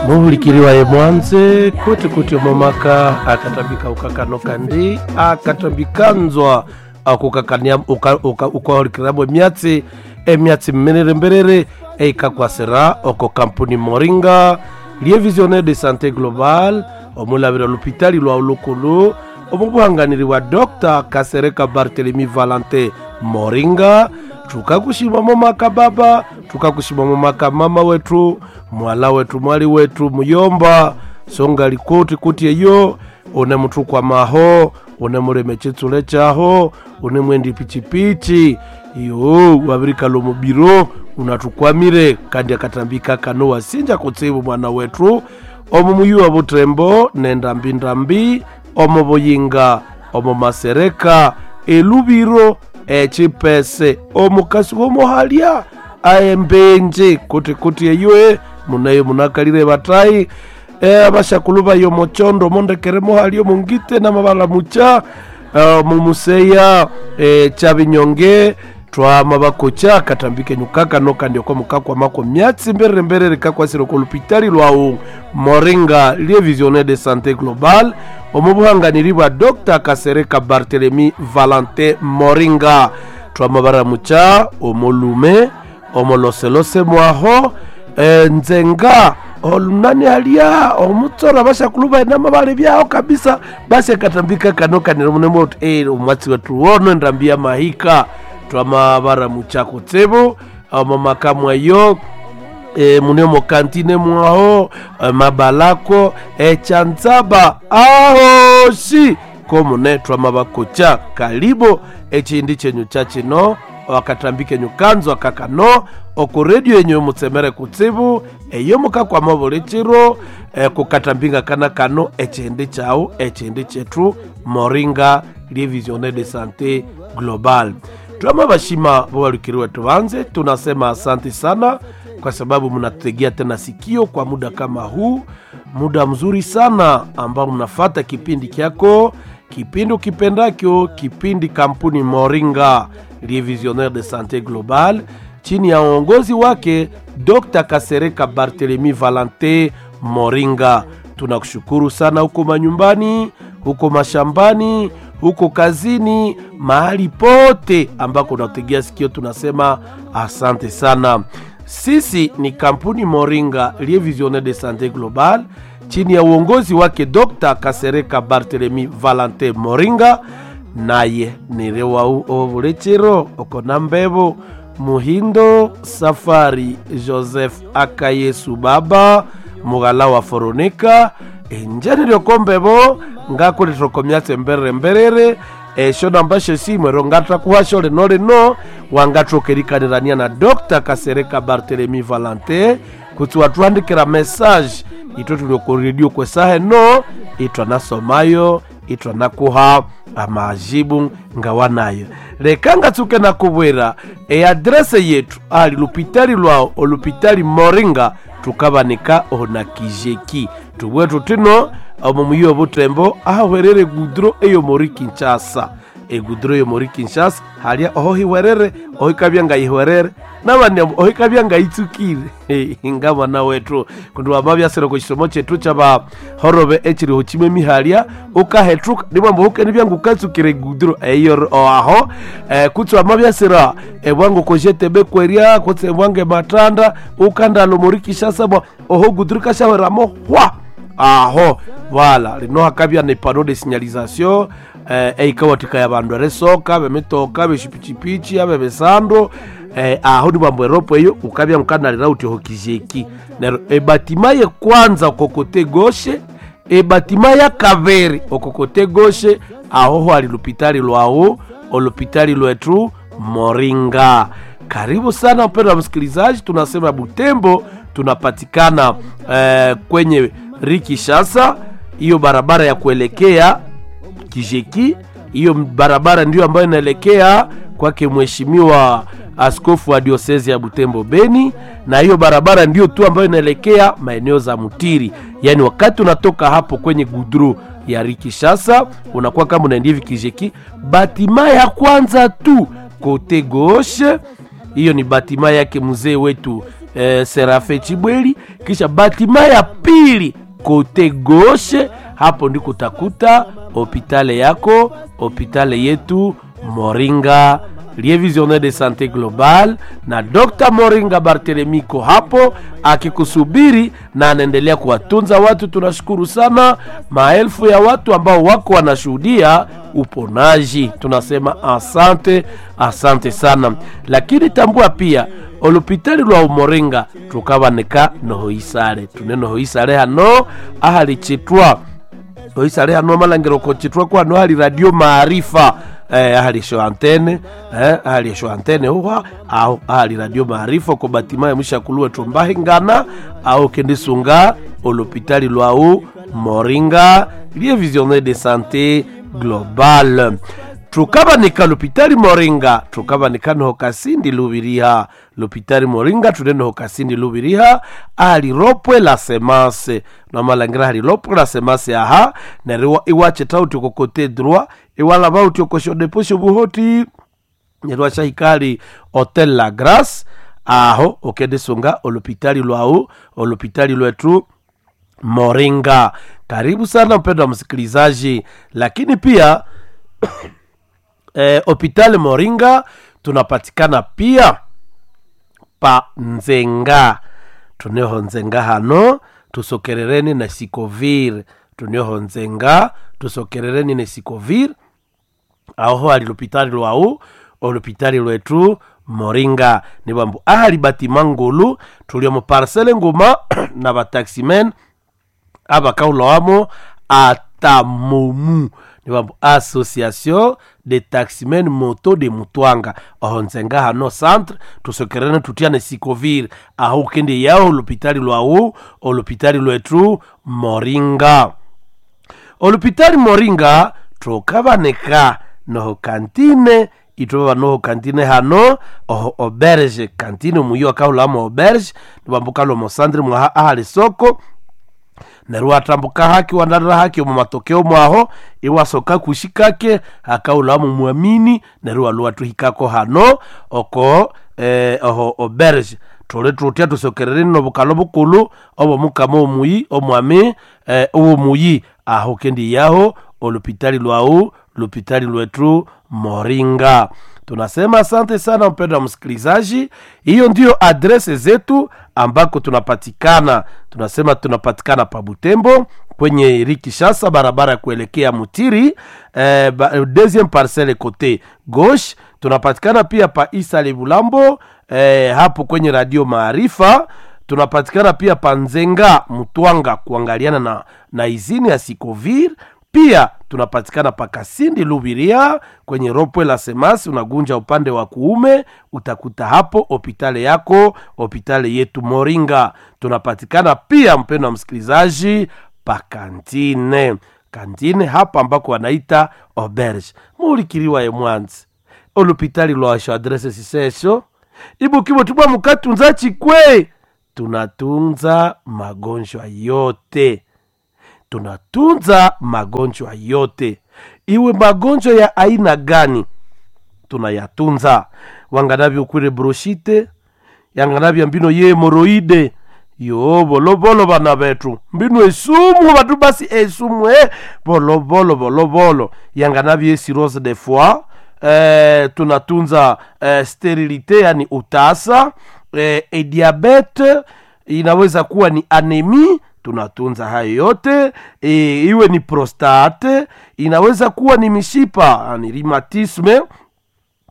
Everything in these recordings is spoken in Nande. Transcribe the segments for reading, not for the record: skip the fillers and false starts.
Muhulikiriwa mwanze kuti kuti omomaka akatambika ukakano kandi akatambikanzwa akukakania ukahulikirirambo emyatsi emyatsi mmerere mberere eikakwasira oko kampuni Moringa lie Visionnaire de Santé Global omulabira olupitali lwa ulukulu omubuhanganiri wa Dr. Kasereka Barthelemy Valentin Moringa. Tukakushima momaka baba, tukakushima momaka mama wetu, mwala wetu, mwali wetu muyomba songa likoti kuti eyo une muthu kwa maho une muleme chitsule chaho une mwendi pichipichi iyo wabirikalo mubiro unatukwamire kandi akatambika kano wasinja kutsibu mwana wetu omu muyu wa butembo nendambindambi omu buyinga omu masereka elubiro echipese omukasi womuhalya aembenje kuti kuti eyue munayo munakalire batayi abashakulu bayo mochondo mondekere muhalya mungite namabala mucha mumuseya chabinyonge twama bakocha katambike nyukaka kandi oko mukakwamako myatsi mberere mberere kakwasire oko lupitali lwawu Moringa lie Visionnaire de Santé Global omubuhanganiri bwa Dr. Kasereka Barthelemy Valentin Moringa. Twama baramucha omolume omoloselose mwaho nzenga olunani alia omutsora bashakulu bainama bali byao kabisa. Basi akatambika kano kanira munemo omwatsi wetu wono endambia mahika twama baramucha kutsibu omomaka mwayo munemo kantine mwaho mabalako echanzaba ahoshi komune twama bakocha kalibo echindi chenyu cha chino wakatambike nyukanzo akakano oku redio yenyu mutsemere kutsibu eyo mukakwama buli chiro kukatambinga kana kano echindi chau echindi chetu Moringa lie Visionnaire de Santé Global. Twama bashima bobalukiriwe tubanze tunasema asante sana kwa sababu mnatutegea tena sikio kwa muda kama huu, muda mzuri sana ambao mnafata kipindi kyako, kipindi ukipendakyo, kipindi kampuni Moringa lie Visionnaire de Santé Global chini ya uongozi wake Dr. Kasereka Barthelemy Valentin Moringa. Tunakushukuru sana huko manyumbani, huko mashambani, huko kazini, mahali pote ambako unategea sikio, tunasema asante sana. Sisi ni kampuni Moringa lie Visionnaire de Santé Global chini ya uongozi wake Dr. Kasereka Barthelemy Valentin Moringa, naye nirewau ovulechero okona mbebo Muhindo Safari Joseph Akayesu baba mugala wa Foroneka enjani lyokombebo ngakulithokomyatse mberere mberere esho namba shesimwero ngatakuhasho lino lino wangathokerikanirania na Dr. Kasereka Barthelemy Valentin kutsi watuhandikira message itwe tuli ku redio kwesaha eno itwanasomayo itwanakuha amajibu ngawanayo. Leka ngatsuke nakubwera eadrese yetu ali lupitali lwawo olupitali Moringa tukabanika ona kijeki tubwe tutino omo muyi obutembo ahwerere gudro eyo mori Kinshasa egudro eyo mori Kinshasa halia oho hiwerere ohikabya ngayihwerere nabandi ohikabya ngayitsukire nga mwana wetu kundi wamabyasire ku kisomo chetu chaba horobe echiriho chimwe mihalya ukahetruka nimwambo hukeni byangu ukatsukire gudro eyo aho kutsi wamabyasira ebwangu kojetebe kweria kutsi ebwange matanda ukandalo mori Kinshasa bwa oho gudro kashahweramo hwa aho wala lino hakabya ne pano de signalisation eikawatika ya bandu eresoka bemitoka beshipichipichi abe besando aho ni bambo eropo eyo ukabya mkanalira uti hokijeki nero ebatima ye kwanza okokote goshe ebatima ya kaveri okokote goshe aho ho ali lupitali lwawo olupitali lwetu Moringa. Karibu sana mpendwa msikilizaji, tunasema Butembo tunapatikana kwenye Rikishasa, hiyo barabara ya kuelekea Kijeki, hiyo barabara ndiyo ambayo inaelekea kwake mheshimiwa askofu wa diosezi ya Butembo Beni, na hiyo barabara ndiyo tu ambayo inaelekea maeneo za Mutiri. Yaani wakati unatoka hapo kwenye gudru ya Rikishasa unakuwa kama unaenda hivi Kijeki, batima ya kwanza tu kote gauche, hiyo ni batima yake mzee wetu Serafe Chibweli, kisha batima ya pili kote gauche, hapo ndiko utakuta hopitale yako, hopitale yetu Moringa Lie Visionnaire de Sante Global na Dr. Moringa Barthelemy ko hapo akikusubiri na anaendelea kuwatunza watu. Tunashukuru sana maelfu ya watu ambao wako wanashuhudia uponaji, tunasema asante, asante sana. Lakini tambua pia olupitali lwa Umoringa tukabaneka nohoisale tune nohoisale hano ahali chitwa oisale hano amalangiro kochitwa kwano hali radio maarifa ahali sho antene ahali sho antene huwa aho ahali radio maarifa ko batima ya mshakuluwe tumbahingana aho kendisunga olopitali lwau Moringa Lie Visionnaire de Santé Globale. Tukabanika lopitali Moringa, tukabanika noho Kasindi Lubiriha. Lopitali Moringa tune noho Kasindi Lubiriha ali ropwe la semase namalangira hali ropwe la semase aha neryo iwacheta uti kokote droit iwalaba uti okoshodeposho buhoti neryo washahikali Hotel La Grace aho okendisunga olopitali lwau olopitali lwetu Moringa. Karibu sana mpendwa msikilizaji, lakini pia Hopital Moringa tunapatikana pia pa Nzenga, tuneho Nzenga hano tusokerereni na Sikovir, tuneho Nzenga tusokerereni na Sikovir aho ali lopitali lwau olopitali lwetu Moringa ni bambu ahali batima ngulu tulio mu parcele nguma na bataximen abakaulowamo atamomu ni bambu association de taximen moto de Mutwanga aho Nzenga hano centre tusokerene tutiane Sikovir aho kende yao olopitali lwau olopitali lwetu Moringa. Olopitali Moringa tukabaneka noho kantine itwaba noho kantine hano oho auberge kantine omuyo akahulamo auberge nibambuka lomo centre mwaha ahali soko neryo watambuka haki wandarira haki omu matokeo mwaho iwasoka kushikake akaulamu mwamini neryo waluwa tuhikako hano oko oho auberge tuli tutya tusokerereni nobukalo bukulu obwo mukama omuyi omwami owomuyi aho kendi yaho olupitali lwau lupitali lwetu Moringa. Tunasema asante sana mpendwa msikilizaji, hiyo ndiyo adrese zetu ambako tunapatikana. Tunasema tunapatikana pa Butembo kwenye Rikishasa, barabara ya kuelekea Mutiri, deuxième parcelle côté gauche. Tunapatikana pia pa Isale Bulambo, hapo kwenye radio Maarifa. Tunapatikana pia pa Nzenga Mutwanga, kuangaliana na izini ya Sikovir. Pia tunapatikana pa Kasindi Lubiria kwenye ropwe la Semasi, unagunja upande wa kuume utakuta hapo hopitale yako, hopitale yetu Moringa. Tunapatikana pia mpendo wa msikilizaji pa kantine, kantine hapa ambako wanaita auberge mulikiriwa ye mwanzi olupitali lwasho adrese sisesho ibukibo tubwa mukatunza chikwe. Tunatunza magonjwa yote, tunatunza magonjwa yote, iwe magonjwa ya aina gani tunayatunza. Wanganavyo kwire broshite yanganavya mbino ye hemoroide yo bolobolo bana betu mbino esumu batu basi esumu bolobolo bolobolo yanganavyo cirrhose de foie tunatunza sterilite yani utasa e diabete inaweza kuwa ni anemi tunatunza hayo yote iwe ni prostate inaweza kuwa ni mishipa yani rhumatisme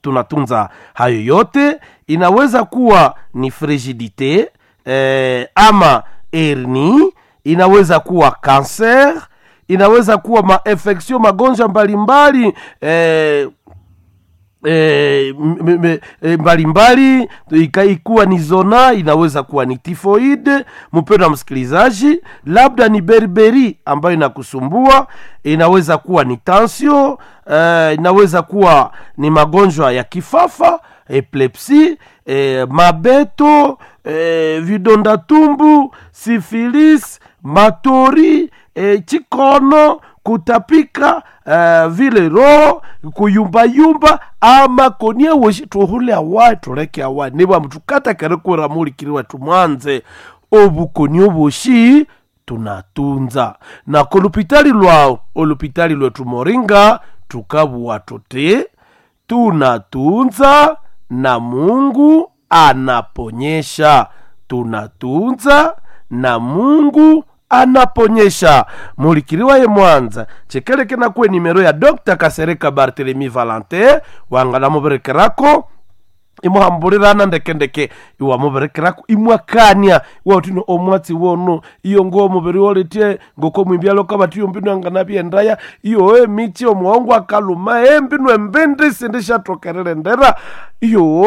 tunatunza hayo yote inaweza kuwa ni frigidite ama hernie inaweza kuwa cancer inaweza kuwa mainfection magonjwa mbalimbali mbalimbali ikuwa ni zona inaweza kuwa ni tifoide. Mpendwa msikilizaji, labda ni berberi ambayo inakusumbua, inaweza kuwa ni tension, inaweza kuwa ni magonjwa ya kifafa, epilepsi, mabeto, vidonda tumbu, sifilis, matori, chikono, kutapika, vile roho kuyumbayumba amakonia woshi tuhule awayi tuleke awayi nibwa tukatakerikwira mulikiri wetu mwanze obukoni oboshi tunatunza na kolupitali lwawo olupitali lwetu Moringa tukabuwa tuti tunatunza na Mungu anaponyesha, tunatunza na Mungu anaponyesha. Mulikiriwa ye Mwanza chekeleke nakwe nimero ya Dr. Kasereka Barthelemy Valentin wanganamuberekerako imuhambulirana ndekendeke iwamuberekerako imwakania iwatino omwatsi wono iyo ngo omubiri woletye ngoko mwimbyalo kabati iyo mbinu anganabyendaya iyo emichi omuhongo akaluma embinu embindi sindishathokerere ndera iyo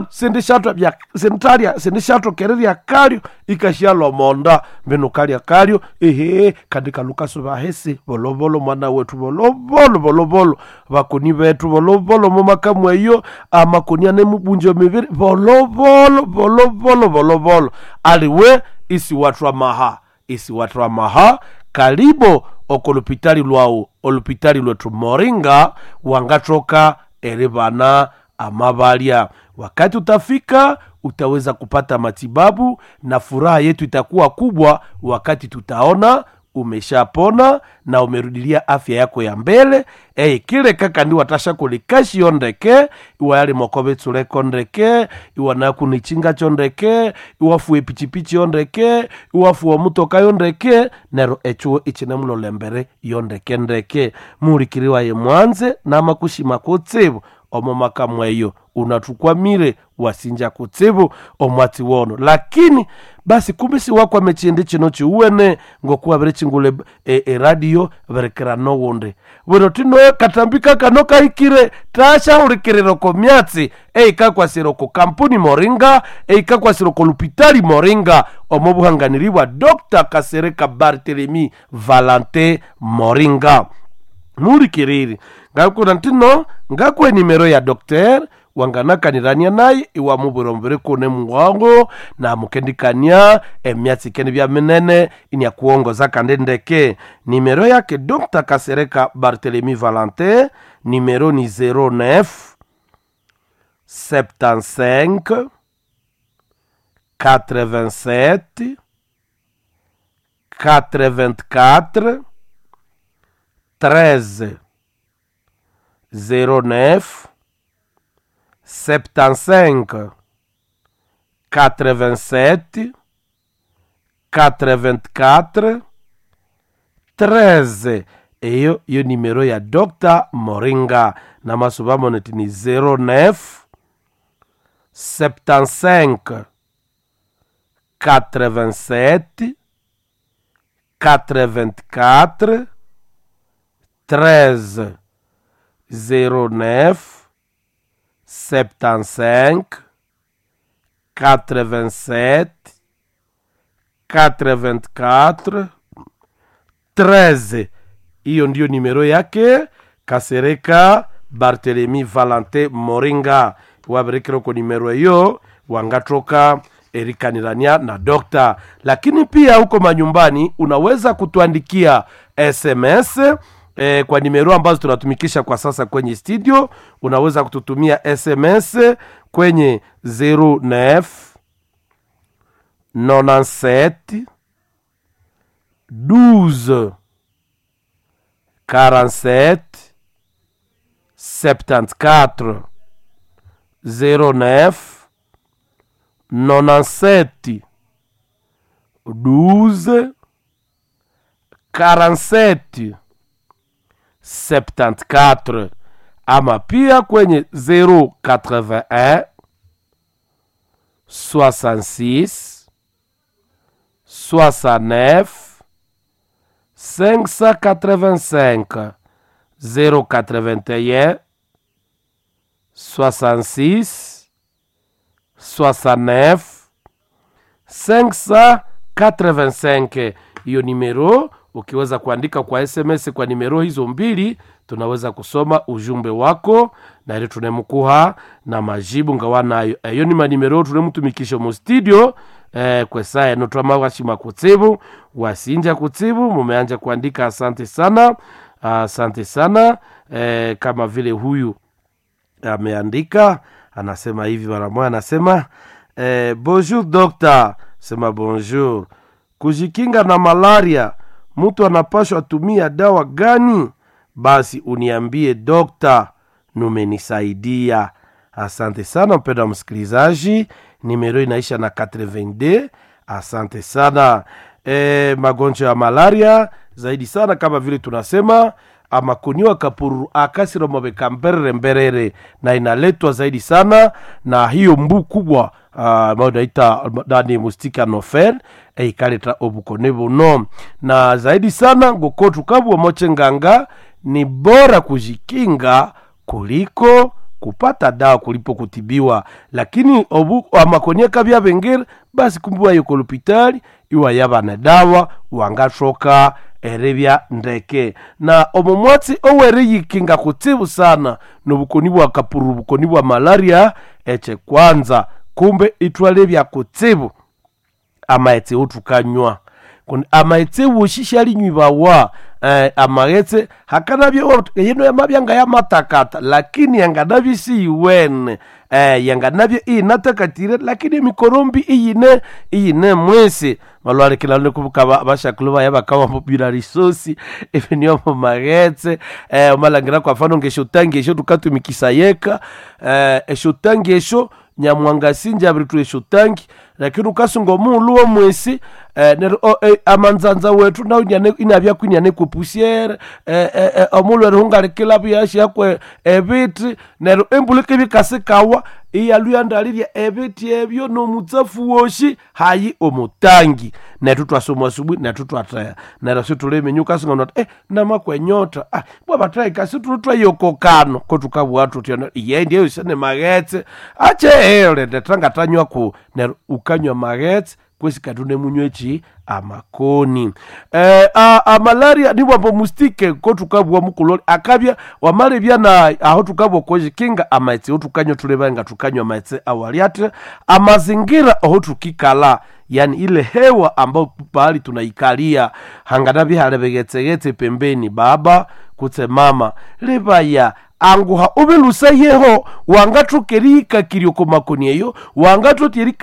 sindishatwa sintalya sindishathokererya kalyo ikashyalwa omonda mbinu kalya kalyo ehe kandi kalukasuba hesi volovolo mwana wetu volovolo volovolo bakoni bethu volovolo mumakamu eyo amakoni anemubunjo mibiri volovolo volovolo volovolo aliwe isiwathwa maha isiwathwa maha kalibo okolupitali lwawu olupitali lwetu Moringa wangathoka eribana amabalya. Wakati utafika utaweza kupata matibabu na furaha yetu itakuwa kubwa wakati tutaona umeshapona na umerudilia afya yako ya mbele. Ei kile kaka ndi watasha kulikashiyo ndeke iwa yali mokobe tsuleko ndeke iwa nakunichinga cho ndeke iwafuwe pichipichi yo ndeke iwafuwe mutoka yo ndeke nero echuo ichinemulolembere yo ndeke ndeke mulikiriwa ye mwanze namakushima kutsibu omo makamwe eyo unathukwamire wasinja kutsibu omwatsi wono. Lakini basi kumbe siwakwame chindi chino chiuwene ngokuwa biri eradio berekera nowundi bwino tino katambika kano kahikire tashahulikirira ko myatsi eikakwasira ko kampuni Moringa eikakwasira ko lupitali Moringa omo buhanganiri bwa Dr. Kasereka Barthelemy Valentin Moringa mulikiriri ngakuna ntino ngakwe nimero ya dokter wanganakanirania naye iwamubwira omubiri kune muwango namukendikania emyatsi kene bya minene inyakuongoza kandi ndeke. Nimero yake Dr. Kasereka Barthelemy Valentin nimero ni 09 75 87 84 13 09 75 87 84 13. Eyo yo nimero ya Dr. Moringa na masuba moneti ni 09 75 87 84 13 09 75 87 84 13. Hiyo ndiyo nimero yake Kasereka Barthelemy Valentin Moringa. Waberekera ko nimero hiyo wangathoka erikanirania na dokta. Lakini pia huko manyumbani unaweza kutuandikia SMS kwa nimero ambazo tunatumikisha kwa sasa kwenye studio. Unaweza kututumia SMS kwenye 09 97 12 47 74 09 97 12 47 74 ama pia kwenye 081 66 69 585 081 66 69 585. Hiyo nimero ukiweza kuandika kwa SMS kwa nimero hizo mbili, tunaweza kusoma ujumbe wako na ile tunemkuha na majibu ngawa nayo. Eyo ni manimero tunemutumikisha mu studio kwesa eno twamawashima kutsibu wasinja kutsibu mumeanja kuandika, asante sana. Asante sana. Kama vile huyu ameandika anasema hivi mara moja, anasema bonjour docteur, sema bonjour. Kujikinga na malaria mtu anapashwa tumia dawa gani? Basi uniambie dokta, numenisaidia. Asante sana mpendwa msikilizaji, nimero inaisha na 82. Asante sana. Magonjwa ya malaria zaidi sana kama vile tunasema amakoniwa kapuru akasiromobeka mberere mberere, na inaletwa zaidi sana na hiyo mbu kubwa ambayo naita nani mustika nofer eikaleta obukone buno, na zaidi sana ngoko tukabwa moche nganga, ni bora kujikinga kuliko kupata dawa kulipo kutibiwa. Lakini obu amakonia kabya bengere basi kumbiwa yoko lopitali iwa yabana dawa wangashoka erebya ndeke. Na omo mwatsi owereyikinga kutsibu sana nobukoni bwa kapuru, bukoni bwa malaria eche kwanza kumbe itwalebya kutsibu amaetse otukanywa kundi amaetse woshishalinywibawa amaghetse hakanabye yino yamabyanga yamatakata lakini yanganabye siyiwene yanganabye inatakatire lakini emikorombi iyine iyine mwesi malwalekilano kubuka bashakulu baya bakawamubira risosi ebinio mu maghetse omalangira kwa mfano ngeshotangi esho tukatumikisa yeka eshotangi esho nyamwangasinja abiritu eshotangi lakini ukasunga omuulu womwesi neryo amanzanza wetu nawu inabya kwiniane kwepusiere omuulu erihungalikila buyashyakwe ebiti neryo embulika ebikasikawa iyaluyandalirya ebiti ebyo nomutsafu woshi hayi omutangi nethu twasoma asubuhi nethu twatheha neryo situliminya ukasunga noti namakwenyotha bwa bathahika situlutwayokokano ko tukabugha thuthi iye ndiyo isene maghetse ache ndethangatanywa ku neryo ukanywa maghetse kwesi kati unemunywa echi amakoni amalaria niwambo mustike ko tukabugha mukuloli akabya wamalebya na aho tukabugha kwejikinga amaghetse otukanywa tuleba nga tukanywa amaghetse awaliathe amazingira oho tukikala, yani ile hewa ambayo pahali tunaikalia hangana bihale bighetsegetse pembeni baba kutse mama libaya anguha ubilusa yeho wangathokerihikakirya oko makoni eyo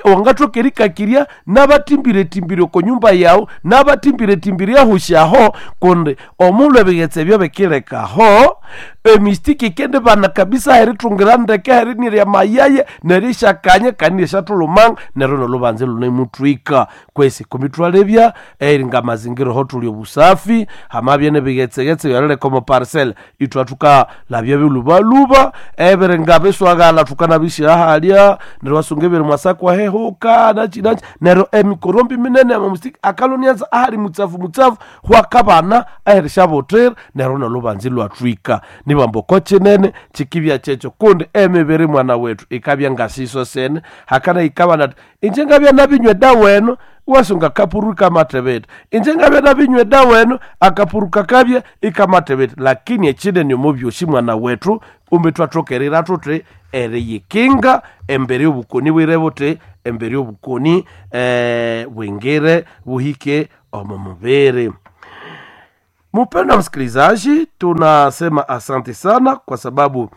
wangathokerikakirya nabatimbirethimbire oko nyumba yawu nabatimbirethimbire ahusyaho kundi omulhu ebighetse ebyo bikilekaho emistiki ikendibana kabisa herithungira ndeke herinirya mayaya nerishakanya kandi nerisyathulumanga neryo nolubanza lunemuthwika kwesi kumithwalebya eringa amazingira oho thuli obusafi hamabya nebighetsegetse byalileka omo parcel ithwathukalabya bilubaluba ebiringa biswagala thukanabisyahalya neryo wasunga ebiri mwasakwa hehuka nachi nachi neryo emikorombi minene amamustiki akalonianza ahali mutsafu mutsafu hwakabana aherisyabuthira neryo nolubanza ilwathwika nibamba oko kinene kikibya kyekyo kundi emibiri mwana wethu ikabya ngasiso sene hakana ikabana ati inje ngabya nabinywa edawa eno wasunga kapuru ikamatebete inje ngabya nabinywa edawa eno akapuru kakabya ikamatebete lakini ekinene omo byosi mwana wethu kumbe twathokerera thuthi eriyikinga embere y'obukoni bwire buthi embere y'obukoni bwingire buhike omo mubiri. Mpendwa msikilizaji, tunasema asante sana kwa sababu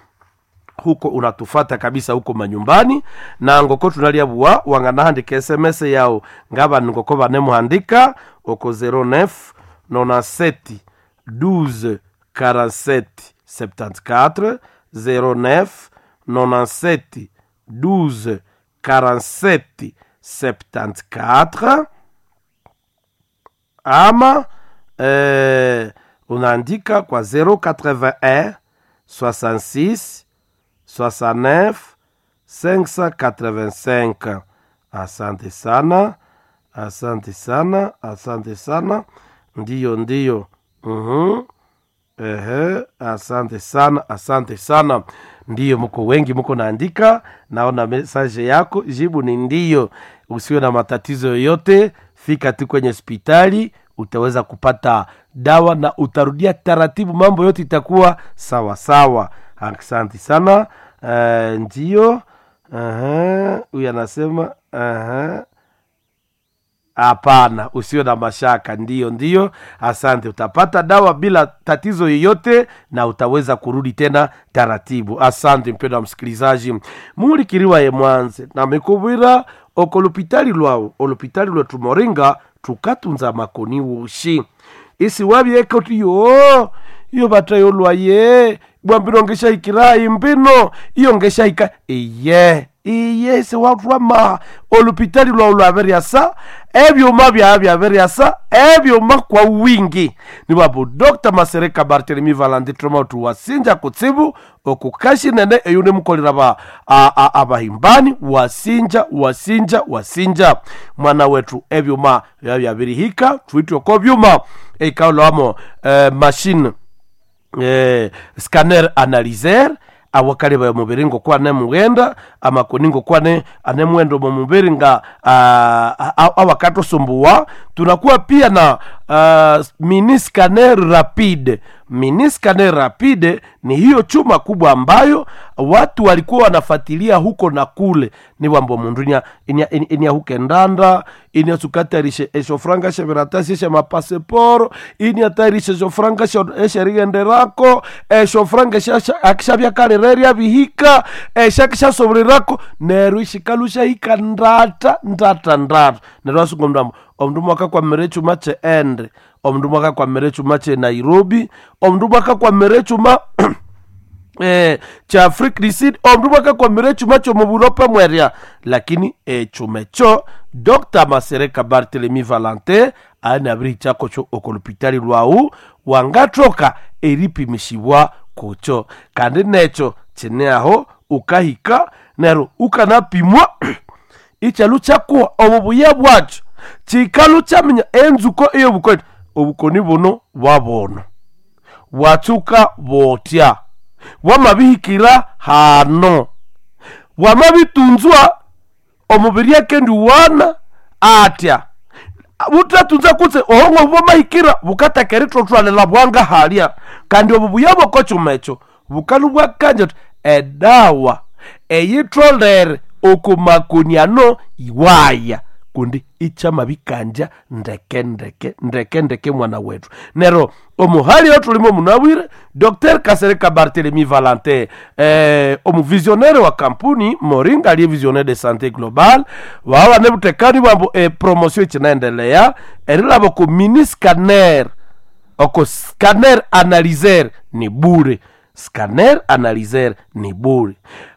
huko unatufata kabisa huko manyumbani na ngoko tunaliabua wanganahandika sms yao ngaba ngoko banemuhandika oko 09 97 12 47 74 09 97 12 47 74 ama unaandika kwa 081 66 69 585. Asante sana, asante sana, asante sana. Ndiyo, ndiyo. Ehe, asante sana, asante sana. Ndiyo, mko wengi, mko naandika, naona message yako, jibu ni ndiyo. Usiwe na matatizo yoyote, fika tu kwenye hospitali utaweza kupata dawa na utarudia taratibu, mambo yote itakuwa sawa sawa. Asante sana. Ndiyo. Huyu anasema Hapana, usiwe na mashaka. Ndiyo, ndiyo, asante. Utapata dawa bila tatizo yoyote na utaweza kurudi tena taratibu. Asante mpendwa wa msikilizaji, mulikiriwa ye mwanze na mikubwira okolupitali lwawu olupitali lwetu Moringa tukatunza makoni wushi isi wabyeka uti yo iyo batayolwaye bwambino ngeshahikirayi mbino iyo ngeshahika iye iye siwatwama olupitali lwawu lwabiryasa ebyuma byawe byabiryasa ebyuma kwa wingi niwabu Dr. Masereka Barthelemy Valandi troma tuwasinja kutsibu okukashi nene eyo nimukolera ba abahimbani wasinja wasinja wasinja mwana wetu ebyuma bya byabirihika twitwe ko byuma ikaulwamo machine scanner analyser awakali ba mubiri ngo kwane mughenda amakoni ngo kwane anemwendo mu mubiri nga awakatusumbuwa. Tunakuwa pia na mini scanner rapide. Mini scanner rapide ni hiyo chuma kubwa ambayo watu walikuwa wanafuatilia huko na kule, ni wambo mundu inya inya huke ndanda inya sukatarishe eshofranga shebiratasi she mapaseporo inya tarishe eshofranga esherighenderako eshofranga akishabyakalirerya bihika eshakishasoborerako neryo ishikalusha hika ndata ndata ndata neryo asunga omundu ambu omundu mwakakwamira echuma che ende omundu mwakakwamira echuma che Nairobi omundu mwakakwamira echuma cha Afrique du Sud omundu mwakakwamira echuma chomuburope mwerya lakini echuma echo Dr. Masereka Barthelemy Valentin anabirihichako cho okolupitali lwawu wangathoka eripimisibwa kucho kandi necho chine aho ukahika neryo ukanapimwa ichalu kyakuwa obubuya bwakyo chikalu kyaminya enzuko eyobukoni obukoni buno bwabono bwatsuka botya bwamabihikira hano bwamabitunzwa omubiri akendiwana atya butatunza kutse ohongo bwamahikira bukataka erithothwalela bwanga halya kandi obubuya bwokokyuma ekyo bukalu bwakanja uthi edawa eyitholere okumakoniano iwaya kundi ichamabikanja ndeke ndeke ndeke ndeke mwana wetu nero omuhali otulimo munabwire Dr. Kasereka Barthelemy Valentin omuvisionnaire wa kampuni Moringa aliye visionnaire de santé globale wawa nebutekani bwambu promotion ichinaendelea erilabo ku mini scanner oko scanner analyser ni bure scanner analyser ni bure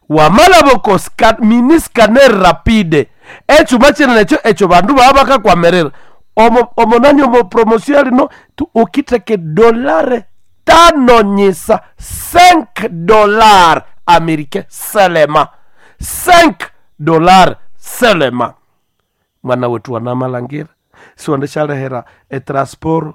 wamalaboko mini scanner rapide echuma chinene echo echo bandu baba bakakwamerera omo omonani omo promotion alino tu ukiteke dolare tano nyisa 5 dollar américain seulement 5 dollar seulement mwana wetu wanamalangira siwandeshalehera etransport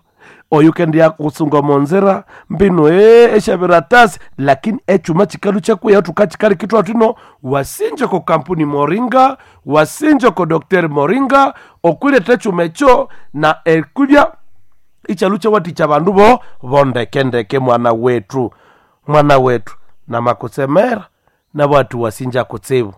oyu kendia kusunga monzera mbino eshabiratasi lakini echuma chikalu chakuya tukachikali kitwa tino wasinje ko kampuni Moringa wasinje ko Dr. Moringa okwileta echuma echo na ekulya ichalu chawati cha bandu bo bondekendeke mwana wetu mwana wetu na makusemera na watu wasinja kutsibu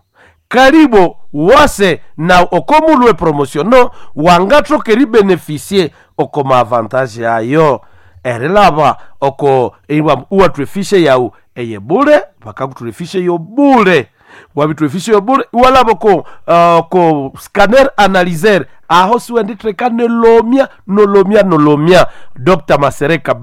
karibo wase na okomulwe promotiono wangathoka eribenefisie oko maavantage ayo erilaba oko uwatwefishe yawu eye bule bakakutwefishe yo bule wabitwefishe yo bule iwalaba ko ko scanner analyser aho siwenditheka nolomya nolomya nolomya Dr. Masereka.